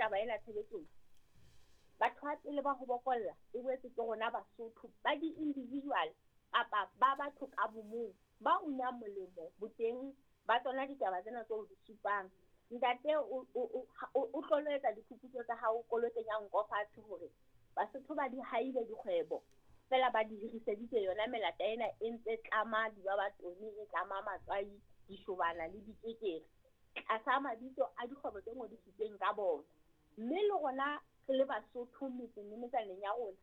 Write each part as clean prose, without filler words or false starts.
taba ena tshebetsong, batho ba pele ba ho bokolla e boetse ke rona Basotho ba di-individual kapa ba batho ka bomong ba unang molemo boteng ba tsona ditaba tsena tseo di supang. Ntate o tlolo etsa diphuputso tsa hao, o lo kenya nko fatshe hore Basotho ba di haile dikgwebo fela ba di hiriseditse yona melata ena e ntse tlama dibabatone, e tlama matswai, dishobana le dikekere tlasa mabitso a dikgwebo tse ngodisitsweng ka bona. Mme le rona re le Basotho metseng le metsaneng ya rona,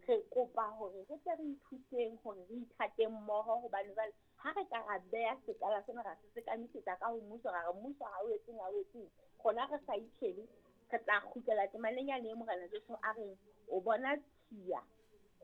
re kopa hore re tle re ithuteng hore re ithateng mmoho, hobane jwale ha re ka ra beha sekala sena ra se sekamisetsa ka ho mmuso, ra re mmuso ha o etseng ha o etseng, rona re sa itjhebe, re tla kgutlela temaneng yane e Morena Jesu a reng o bona tshiya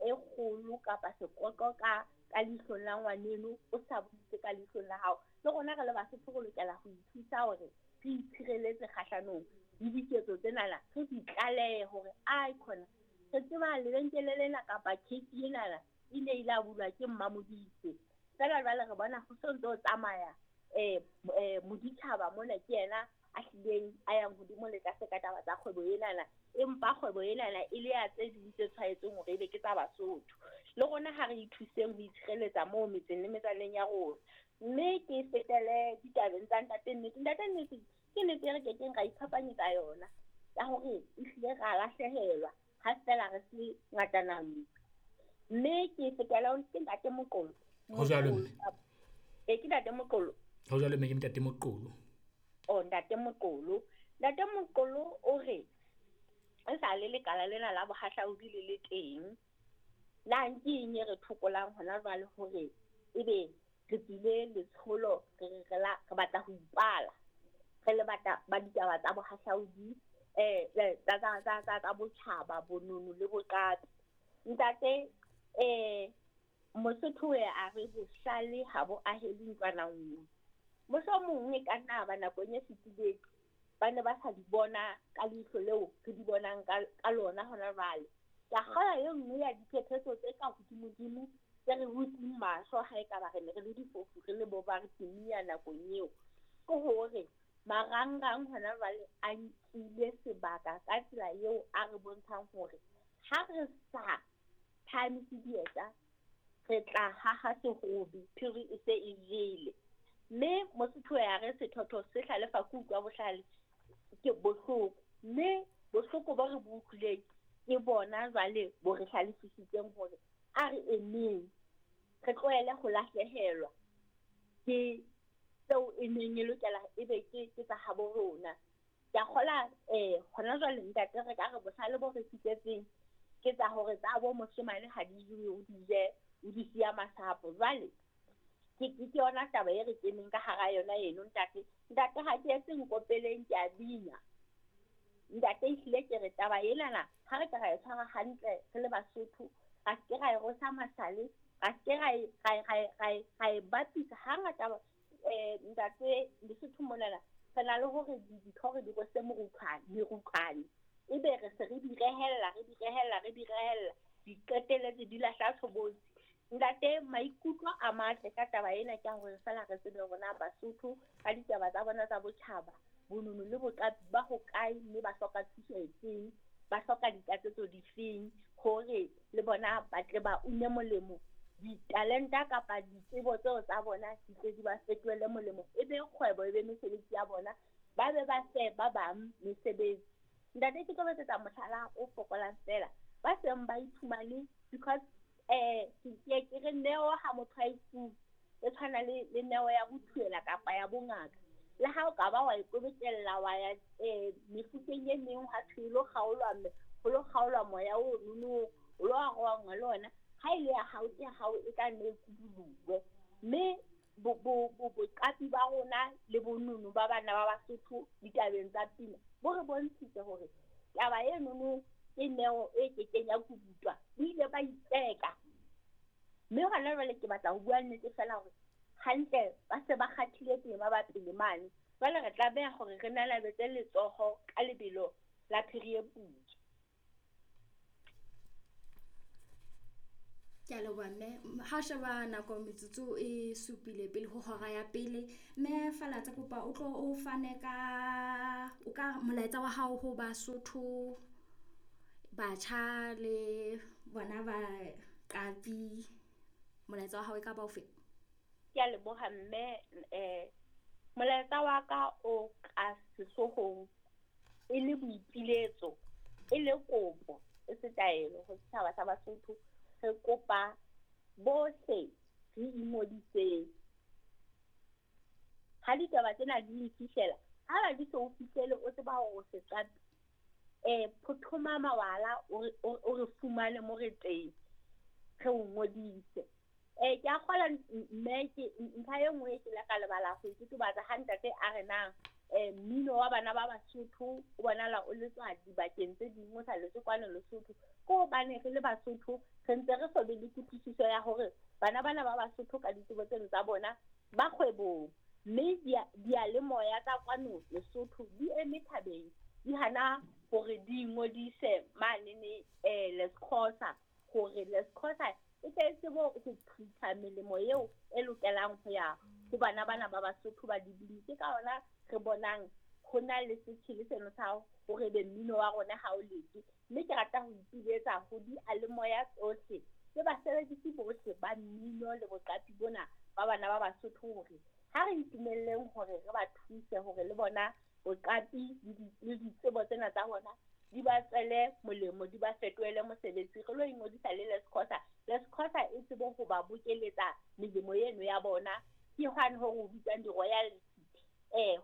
e kgolo kapa sekoqo ka leihlong la ngwaneno, o sa buise ka leihlong la hao. Le rona re le Basotho re lokela ho ithusa hore re itshireletse kgahlanong le diketso tsenana, re di tlalehe hore ai khona re tseba lebenkele lena kapa case enana e ne ile a bulwa ke Mmamodise. Fela jwale re bona ho so ntse o tsamaya moditjhaba mona ke yena a hlileng a yang hodimo le tlase ka taba tsa kgwebo enana, empa kgwebo enana e le ya tse ding tse tshwaetseng hore ebe ke tsa Basotho. Le rona ha re ithuseng ho itshireletsa moo metseng le metsaneng ya rona. Mme ke fetele ditabeng tsa Ntate Nnete. Ntate Nnete ke nnete e re kekeng ra iphapanyetsa yona ya hore ehlile ra lahlehelwa ha fela re se ngatana. Mme ke fetela ke Ntate Moqolo. Ho jwalo mme. E ke Ntate Moqolo. Ho jwalo mme, ke Ntate Moqolo. Oh, Ntate Moqolo. Ntate Moqolo o re e sa le lekala lena la bohahlaudi le le teng, na ke eng e re thokolang hona jwale hore ebe re tswile letsholo, re batla ho ipala, re le batla ba ditaba tsa bohahlaudi, tsa botjhaba, bonono le boqapi. Ntate, Mosotho a re bohlale ha bo ahele ntlwana nngwe. Mohlomong e ka nna ba nakong e fetileng ba ne ba sa di bona ka leihlo leo re di bonang ka lona hona jwale. Ke a kgolwa e nngwe ya diphephetso tse ka hodimodimo tse re butseng mahlo ha ekaba re ne re le difofu, re le bo ba re timia nakong eo, ke hore marangrang hona jwale a nkile sebaka ka tsela eo a re bontshang hore ha re sa phahamise dieta, re tla haha sehobi, phiri e se e jele. Mme Mosotho ya re sethotho se hlalefa ke utlwa bohlale ke bohloko, mme bohloko bo re bo utlwileng ke bona jwale bo re hlalefisitseng hore a re emeng, re tlohele ho lahlehelwa ke tseo e neng e lokela ebe ke tsa habo rona. Ke a kgola hona jwale ntate re ka re bohlale bo re fihletseng ke tsa hore tsa bo moshemane ha di jewe, o di je, o di siya masapo. Jwale ke yona taba e re keneng ka hara yona eno ntate. Ntate ha ke etse nkopeleng, ke a bina. Ntate ehlile ke re taba enana ha re ka ra e tshwara hantle re le Basotho, ra se ke ra e rosa masale, ra se ke ra e bapisa. Hangata ntate Lesotho monana re na le hore ditho re di rwese merutlwane, ebe re se re di rehella, re di rehella, re di rehella, di qetelletse di lahla tshobotsi. Ntate, maikutlo a matle ka taba ena ke hore fela re tsebe rona Basotho ka ditaba tsa bona tsa botjhaba, bonono le boqapi ba hokae, mme ba hloka thuso efeng, ba hloka ditlatsetso difeng hore le bona ba tle ba une molemo, ditalenta kapa ditsebo tseo tsa bona di tle di ba fetohele molemo, e be kgwebo, e be mesebetsi ya bona, ba be ba fe ba bang mesebetsi. Ntate, ke tlo etsetsa mohlala o fokolang fela, ba seng ba iphumane because ke re neo ha motho a e fuwe, e tshwana le neo ya bothuela kapa ya bongaka. Le ha o ka ba wa ikobetella wa ya mefuteng e meng ha thwe lo kgaolwa mme ho lo kgaolwa moya o nono, o lo arohangwa le ona, ha e le ya hao ke ya hao, e tla nne e kuduluwe. Mme boqapi ba rona le bonono ba bana ba Basotho ditabeng tsa pina bo re bontshitse hore taba e nono ke neo e kekeng ya kudutwa, bo ile ba itseka. Mme hona jwale ke batla ho bua nnete fela hore hantle ba se ba kgathile tema ba pele mane. Jwale re tlameha hore re nalabetse letsoho ka lebelo la phiri e putswa. Ke a leboha mme. Ha o sheba nako metsotso e supile pele ho hora ya pele. Mme Falatsa kopa o tlo o fane ka o ka molaetsa wa hao ho Basotho, batjha le bona baqapi. Molaetsa wa hao e ka ba ofe? Ke a leboha mme. Molaetsa wa ka o ka sehloohong e le boipiletso, e le kopo, e se taelo ho setjhaba sa Basotho. Re kopa bohle re ingodiseng. Ha ditaba tsena di le fihlela, ha ba di so o fihlele o tseba hore o seqapi, phothoma mawala o re fumane mo re teng, re o ngodise. Ke a kgolwa mme ke ntlha e nngwe ke ile ka lebala ho e totobatsa ha ntate a re nang mmino wa bana ba Basotho o bonahala o letswa dibakeng tse ding, o sa letswe kwano Lesotho. Ke hobane re le Basotho re ntse re so be le kutlwisiso ya hore bana bana ba Basotho ka ditsebo tseno tsa bona ba kgwebong, mme diyalemoya tsa kwano Lesotho di eme thabeng, di hana hore di ingodise manene LESCOSA, hore LESCOSA e tle e tsebe ho phutha melemo eo e lokelang ho ya ho bana bana ba Basotho ba dibini. Ke ka hona re bonang ho na le setjhele seno sa hore ebe mmino wa rona ha o letswe. Mme ke rata ho ipiletsa ho diyalemoya tsohle le basebedisi bohle ba mmino le boqapi bona ba bana ba Basotho hore ha re itumelleng hore re ba thuse hore le bona boqapi le ditsebo tsena tsa bona di ba tswele molemo, di ba fetohele mosebetsi. Re lo ingodisa le LESCOSA. LESCOSA e tsebe ho ba bokeletsa melemo eno ya bona, ke hwane ho re bitswang di-royalty,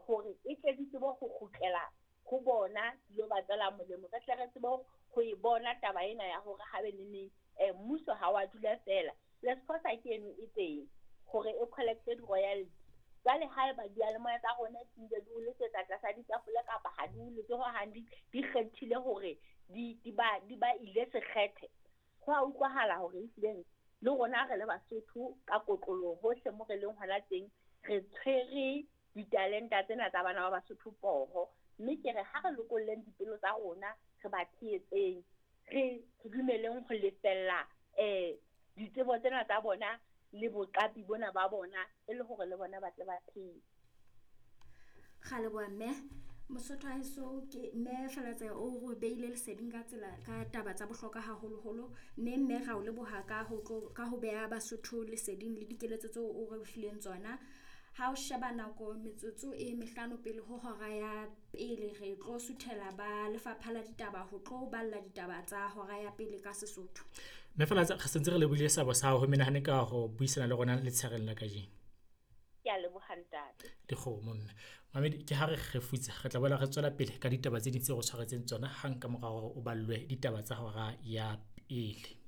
hore e tle di tsebe ho kgutlela ho bona, di lo ba tswela molemo. Re tle re tsebe ho e bona taba ena ya hore habe neneng mmuso ha wa dula feela. LESCOSA ke eno e teng hore e collect-e di-royalty. Jwale haeba diyalemoya tsa rona di ntse di o letsetsa tlasa ditafole kapa ha di o letse hohang, di kgethile hore di ba ile sekgethe, ho a utlwahala hore ehlileng le rona re le Basotho ka kotloloho hohle mo re leng hona teng, re tshwere ditalenta tsena tsa bana ba Basotho poho. Mme ke re ha re lokolleng dipelo tsa rona, re ba tshehetseng, re dumeleng ho lefella ditsebo tsena tsa bona le boqapi bona ba bona, e le hore le bona ba tle ba phele. Ra leboha mme. Mosotho wa heso ke mme Falatsa o re beile leseding ka tsela ka taba tsa bohlokwa haholoholo. Mme mme ra o leboha ka ho tlo ka ho beha Basotho leseding le dikeletso tseo o re fileng tsona. Ha o sheba nako metsotso e mehlano pele ho hora ya pele, re tlo suthela ba lefapha la ditaba ho tlo balla ditaba tsa hora ya pele ka Sesotho. Mme Falatsa, re sentse re lebohile seabo sa hao ho menahane ka ho buisana le rona letshehareng la kajeno. Ke a leboha ntate. Dikgomo mme. Mamedi, ke ha re kgefutsa, re tla boela re tswela pele ka ditaba tse ding tseo re tshwaretseng tsona hang ka mora hore o ballwe ditaba tsa hora ya pele.